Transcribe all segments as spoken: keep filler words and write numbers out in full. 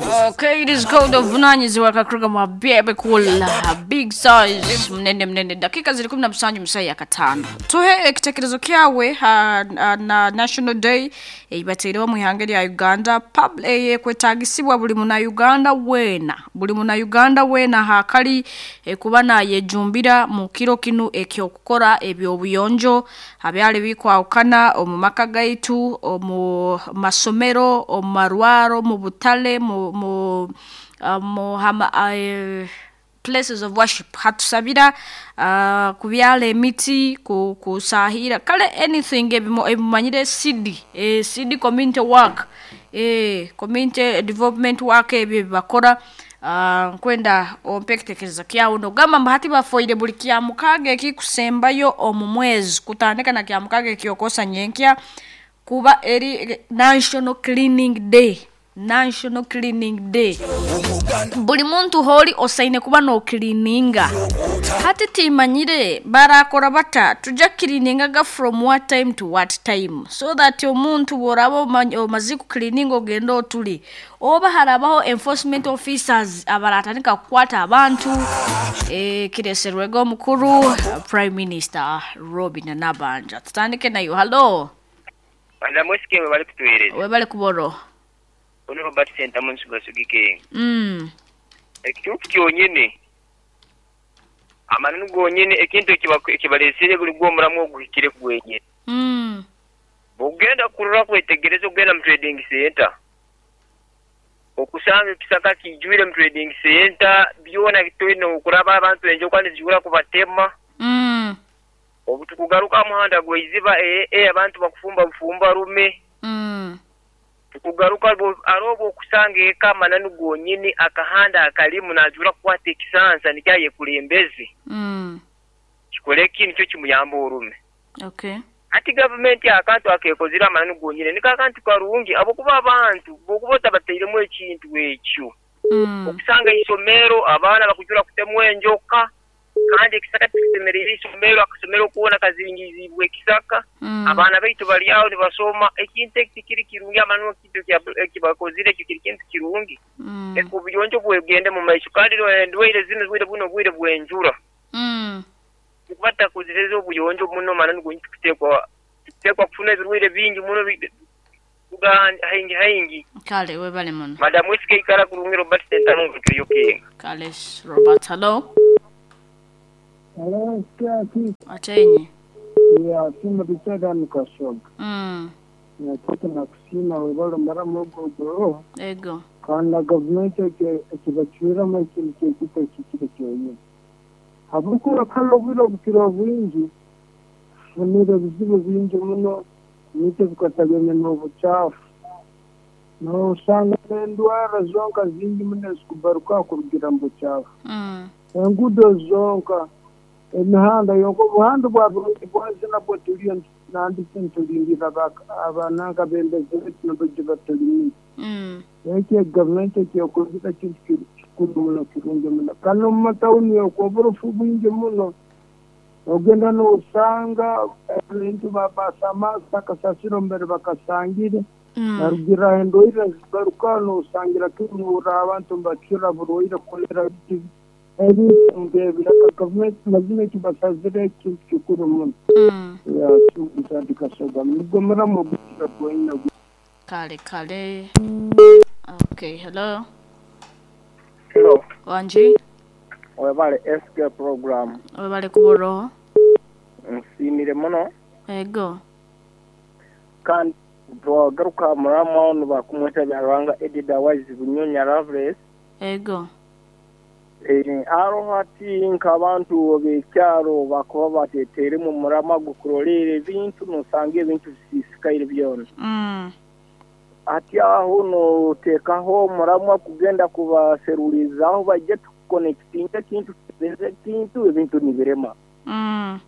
Okay, it is called obuvunanyizibwa kakruga Bebe Cool Big Size mnene mnene. Dakika ziri kumi na musanju musaya katano tuhe ekitekerezo kyawe ha, ha, na National Day eibateireho mu ihanga lya Uganda pub eh, kwetagisibwa buli muna Uganda wena buli muna Uganda wena hakali eh, kuba nayejumbira mu kiro kinu ekyokukora ebyobuyonjo abyali bikwawukana omu maka gaitu, omu masomero, omu marwaro, mu butale, mu mu uh, mu hama, uh, places of worship hatusabira uh, kubyala emiti ku, kusahira kale anything ebimo- ebimanyire C D eh, C D community work eh, community development work ebyo ebibakora. uh, nkwenda ompe ekitekerezo kyawe nogamba mbu hati bafoire buli kya mukaaga ekikusembayo omu mwezi kutandika na kya mukaaga ekyokosa nyenkya kuba eri National Cleaning Day. National Cleaning Day, buli muntu holi osaine kuba nokilininga. Hati timanyire barakora bata tuja kiliningaga from what time to what time, so that omuntu bworaba omany- omaze kukilininga ogenda otuli oba harabaho enforcement officers abaratandika kukwata abantu. e, kireserwego omukuru Prime Minister Robin Nabanja. Tutandike nayo. Hallo. Madam Wesike, bwe bali kutuweereza. Webale kuboro. Ono Robert Sentamu nsugasugike. mm. Ekituufu kyonyene, amananu gonyene, ekintu ekiba- ekibalesere buli gw'omulamu oguhikire gwenyene. Mm. Bw'ogenda kurora kwetegereza, ogenda mu trading center, okusanga ekisaka kijwire mu trading center byona bitolina okuraba abantu enjoka nizijura kubatema. Mm. Obu tukugaruka muhanda gweiziba ee e, abantu bakufumba bufumba rume. Mm. Tukugaruka arobo okusanga eka amananu gonyini akahanda akalimu najura kukwata ekisansa nikyayekulembeze. Mm. Kikole ki nikyo kimuyamba orume. Okay. Ati gavumenti akantu akekozire amananu gonyini niko akantu karungi abokuba abantu bokuba otabateiremu ekintu ekyo. Mm. Okusanga isomero abaana bakujura kutemwa enjoka kandi ekisaka tikisemereire isomero, akasomero kuona kazingizibwa ekisaka. Mm. Abaana baitu bali aho nibasoma, ekintu eki tikiri kirungi amananu ekintu ekya- ekibakozire ekyo kiri kintu kirungi. Mm. Eka obuyonjo bwegende mu maiso kandi endwaire zino bwire buno bwire bwenjura. Mm. Kuba takozeseza obuyonjo muno mananu gonyi tukutekwa tukutekwa kufuna ebirwaire bingi muno bi- buga haingi haingi. Kale webale muno. Madamu Wesike, ikara kurungi. Robert Sentamu ngukiriyo kenga. Kale Robert, hello. Hello, Saki. Atenye. Ya sima bichada nukashoga. Mm. Nakita nakusima webalo mara mugogoro. Ego. Kandi gavumenti ekibacwiramu ekintu kyekita ekikiro kyonyine. Habwokuba kale obwire obukiro bwingi tufunire ebizibu bingi muno nikyo bikataganya n'obucaafu. Nosanga n'endwara zonka zingi muno ezikubaruka kurugira mu bucaafu. Mm. Enguudo zonka, emihanda yonka, obuhanda bwa burungi bwazina bwo tuliyo nandiki ntulindira abananka bembezi baitu nibajja batulimire. Mm. Ekyo gavumenti ekyekozire kintu kiri- kikuru muno, kirungi muno. Kandi omu matawuni okwo oburofu bwingi muno, ogenda nosanga ebintu babasamasa akasasiro mbere bakasangire. Mm. Narugira endwaire zigaruka nosangira kimura abantu nibakira burwaire kolera biti ebintu ngebyo. Gavumenti mazima ekibasazire ekintu kikuru muno. Mm. Yasindikasoga nigwo muramu ogukira gwonyine. Kale kale. Okay, hello. Hello, Wanji. webale S K program. Webale kuboro. Nsiimire muno. Ego. Kandi twagaruka muramu nibakumweta Byarwanga Edida Wise Bunyonya Loveless. Ego. Eh, aroho ati nk'abantu b'ekyaro bakuba bateteremu murama gukurolera ebintu nosanga ebintu bisisikaire byona. Mm. Ati aho noteekaho omuramwa kugenda kubaserulizaho bajje tukonekitinga ekintu tutebeze ekintu ebintu nibirema. Mm.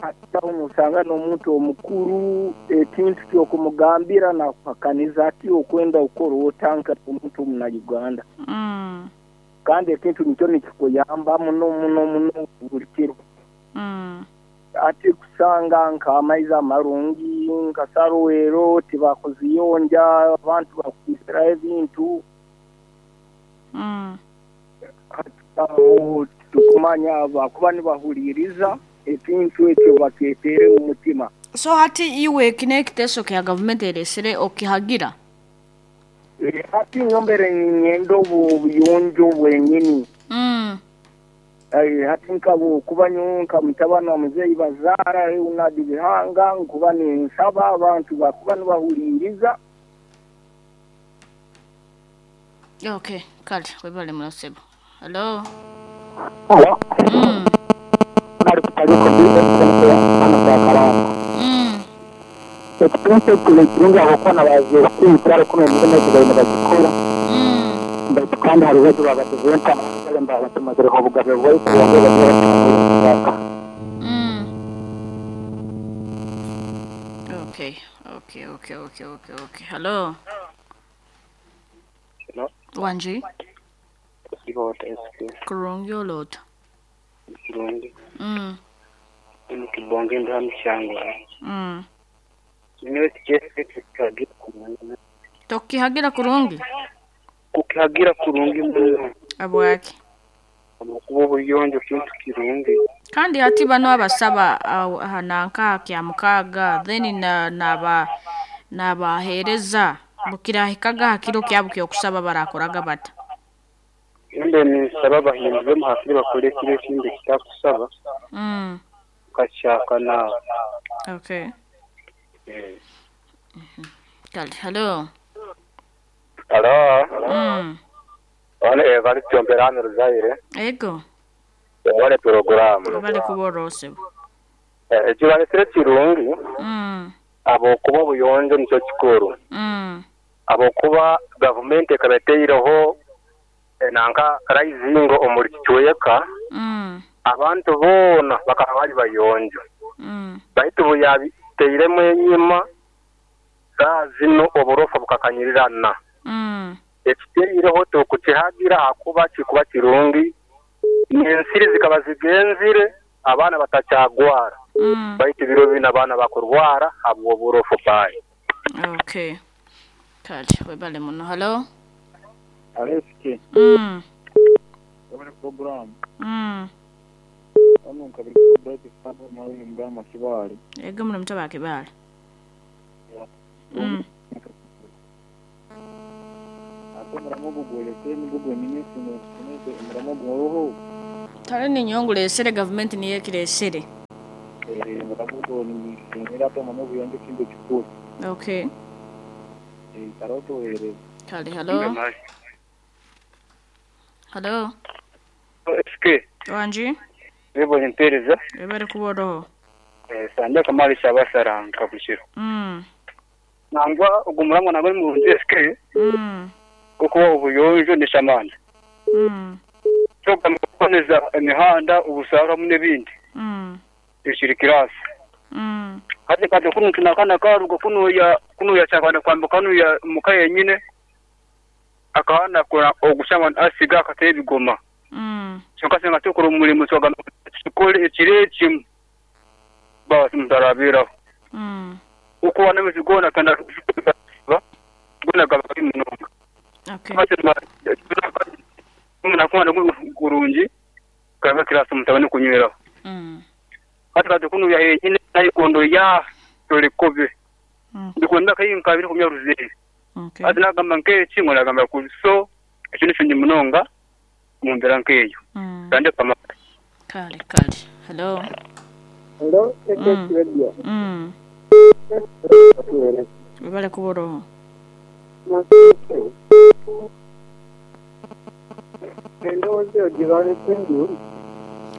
Ati aho nosanga n'omuntu omukuru ekintu kyokumugambira nakupakaniza ati okwenda ukora otanka omuntu omuna Uganda. Mm. Kandi ekintu nikyo nikikuyamba muno muno muno buli kiro. Mm. Ati kusanga nk'amaizi amarungi nka Saruwero tibakuziyonja abantu bakwisiraho ebintu. Abo tukumanya bakuba nibahuliriza ekintu ekyo bakyetere mu mutima. So hati iwe kine ekiteeso kya gavumenti eresere okihagira? Eh, hati nyombere ninyenda obu buyonjo bwenyini. Mm. Eh, hati nkabo kuba nyowe nka mutabani wa muzeeyi bazaara Leonard Bihanga nkuba ninsaba abantu bakuba nibahuliriza. Okay, kale webale munasebo. Hello. Hello. Mm. Bali kutaliko bibe ana kwa karanga. Mm. Ekipinso kirungi abakona baziye kyaro kuno emirimu ekibaine bagikora. Mm. Baitu kandi hari betu babatizenta mba batumazireho obugabe bwaitu bwongere bagira. Mm. Okay, okay, okay, okay, okay, okay. Hello. Hello. Wanji. Irota S P. Kurungi olota. Kirungi. Mm. Mukibonge ndamushangwa. Mm. Niwe kijese kikagira kumanya. Tokihagira kurungi? Kukihagira kurungi muno. Abwaki. Kuba obuyonjo kintu kirungi. Kandi hati bano abasaba uh, nanka kya mukaga then na naba nabahereza bukirahikaga hakiro kyabo kyokusaba barakoraga bata. Embe nisaba bahindure muhakiri bakore kire kindi kitakusaba. Mm. Kachaka na. Okay. Eh. Mm-hmm. Kali, hello. Hello. Mm. One evali tyomberano ruzaire. Ego. Wale programu. Bali kuborose. Eh, ekibalesere kirungi. Mm. Abo kuba obuyonjo nicyo kikuru. Mm. Abo kuba gavumenti ekabeteireho nanka rising omuri kicweka. Mm. Abantu boona bakaba bali bayonjo. Mm. Baitu buyabiteiremu enyima saa zino oburofa bukakanyirirana. Mm. Ekiteireho tukukihagira akuba kikuba kirungi n'ensiri zikaba zigenzire abaana batakyagwara. Mm. Baitu biro bino abaana bakurwara habwo oburofa bayi. Okay. Kale webale muno. Hello. Aleski. Mm. Wabale program. Mm. Ano nkabiri bright sabo mawini mgama kibali. Ego muno mutaba kibali. Mm. Ate muramogo gweleke migugu eminisi nese muramogo roho. Tare ni nyongule esere government ni yekire esere. Eh muramogo ni sinira to manobu yonje kintu kikuru. Okay. Eh taroto ere. Kale hello. Hello. S K. Wanji. Webo nimpereza. Webale kuboroho. Eh sanja kamali cyabasaranga kabushiro. Mm. Nangwa ogumuramwa nabali mu S K. Mm. Kuko obuyonjo ni shamana. Mm. Cyo kuboneza imihanda ubusara mu nebindi. Mm. Ishirikirasi. Mm. Hadi kade kunu tunakana karugo kunu ya kunu ya cyakana kwambuka kunu ya mukaye nyine akahana kora ogushama asiga akateye bigoma. Mm. Cyo tukora umurimo cyo tukore ekireki basi mutarabira. Mm. Uko wana mizigona kana gona gabari munonga. Okay. Muna kurungi kaba kirasa mutabane kunywera. Mm. Hati kade kunu ya nyine nayikondo ya tolikobe. Mm. Ndikonda kayinka biri kumya ruzeri. Okay. Ati nagamba nkeki ngo nagamba kuso ekintu kinyi munonga mumbera nkeyo. Mm. Kande kama Kale kale. Hello. Hello, mm. Radio. Mm. Webale kuboroho. Endowooza eyo gibalese enjuli.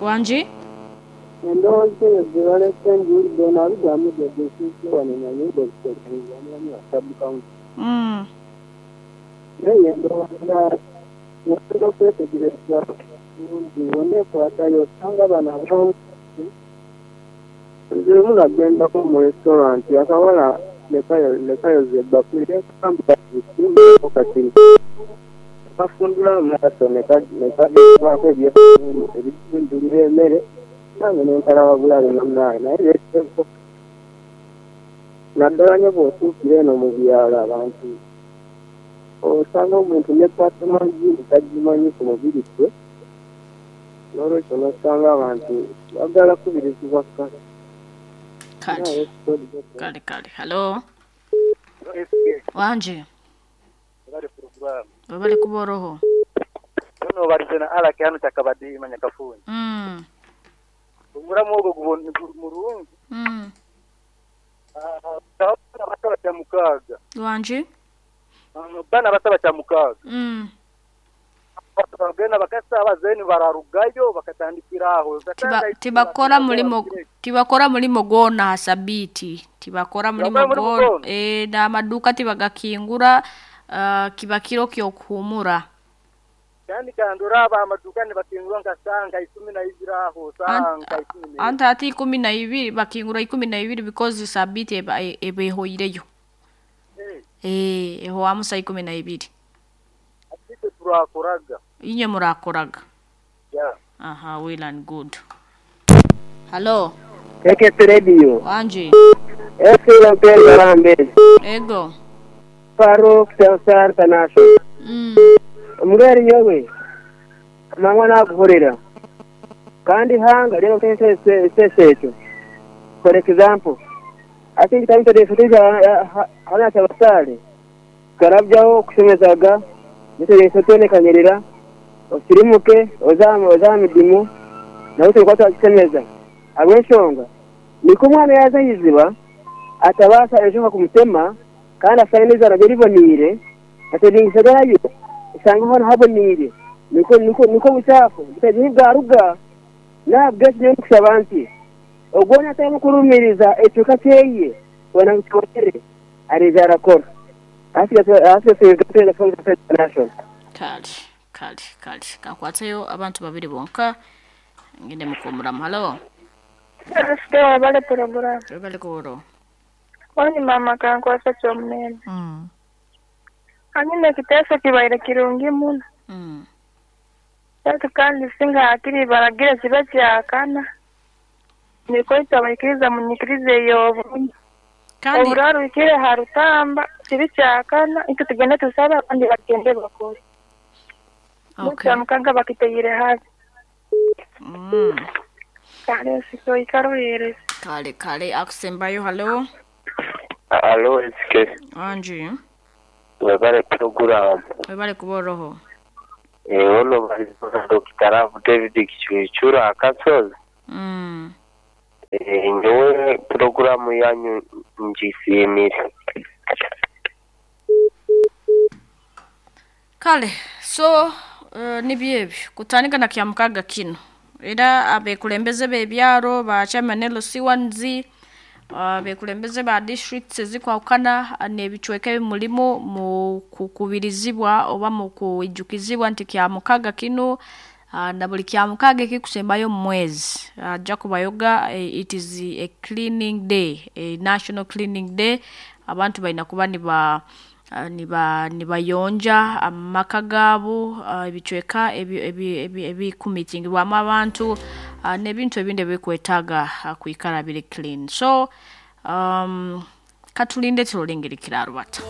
Wanji? Endowooza eyo gibalese enjuli donalugamu gyegusiise wano nanyumba okutegeeza wa sub county. Mm. Naye endowooza ngenda okwetegereza bulungi oneekwatayo osanga bano abamu nze lumu nagendako mu restaurant akawala lekayoza ebbakuli nekamba simbaako kati bafundula amaaso ne kagezaako ebifundulira emmere nange nenkalaba bulabe munnange naye beeteeko naddala nnyo bw'otuukira eno mu byalo abantu osanga omuntu ne personal hygiene tagimanyi ku mubiri gwe N'olwekyo nosanga abantu bagala kubirizibwa kka. Kale kale kale, halo. Wanje. Bali programu. Webale kuboroho. Ono barizena ala kyanu kyakabadi manyakafuni. Mm. Omuramu ogwo gubona murungi. Mm. Ah, bataba kya mukaga. Wanje. Bana bataba kya mukaga. Mm. Bagenda bakasaba zeni bararugayo bakatandikiraho. Tiba, tibakora mulimo tibakora mulimo gwona hasabiti tibakora mulimo gwona e, n'amaduka tibagakingura uh, kiba kiro kyokuhumura. Kandi kandura aba amaduka nibakingura nka sanga ikumi na ibiri aho sanga ikumi na Anta ati ikumi na ibiri bakingura ikumi na ibiri because sabiti eba ebehoireyo. Eh. Eh, eho amusa ikumi na ibiri. Ate turakoraga. Inye murakoraga. Yeah. Aha, well and good. Hello. K K S Radio. Wanje. F C Mpere Barambere. Ego. Faruk Telsar Tanasho. Mm. Omugari yowe amanywa naguhurira kandi hanga rero sesecho. For example, ati ekitabu hana kyabasale karabyaho kushemezaga niteresotonekanyirira osirimuke oza oza midimu nawe turikuba twakishemeza habw'enshonga niko omwana yaza ahiziba atabaasa enjoka kumutema kandi asanga n'izara rye riboniire ateringisa gayo usanga hona haboniire niko niko niko buchafu butagira bwaruga nabwo niyo nkusaba nti ogwona atarimu kurumiriza ekicuka kyeye wena ngu kibonere ariija arakora national. Kale kale kale, kankwatayo abantu babiri bonka ngende mukumuramu. Halo. Sikewa bale programu. Webale kuboro. Wani mama kankwasa kyomunene. Mm. Hanyuma ekiteeso kibaire kirungi muno. Mm. Baitu kandi singa hakiri baragira kiba kyakana. Niko abaikiriza munyikirize ey'obunye. Kandi Oburarukire ha rutamba kibi kyakana itwe tugende tusabe abandi bagende bakore. Okay. Mukaga bakiteyire habi. Mm. Kale siko ikaruhereza. Kale kale, akusembayo. Halo. Alo, S K. Wanje. Webale programu. Webale kuboroho. Ono balizona Doctor Love David Kichwechura akasozi. Mm. Eh, nyowe programu yanyu njisimire. Kale so uh, nibyo ebyo kutandika na kyamukaga kino era abekulembeze b'ebyaro ba chairman L C one Z, abekulembeze ba districts ezikwawukana n'ebicweka ebimulimu mu kukubirizibwa oba mu kwijukizibwa nti kyamukaga kino uh, na buli kyamukaga ekikusembayo mu mwezi ajja kubayoga eh, it is a cleaning day, a national cleaning day. Abantu balina kuba niba uh, niba nibayonja amaka gaabo, uh, ebicweka ebikumitingibwamu abantu, uh, n'ebintu ebindi ebikwetaaga uh, kwikara biri clean. So um, katulinde tulolengeri kirarubata.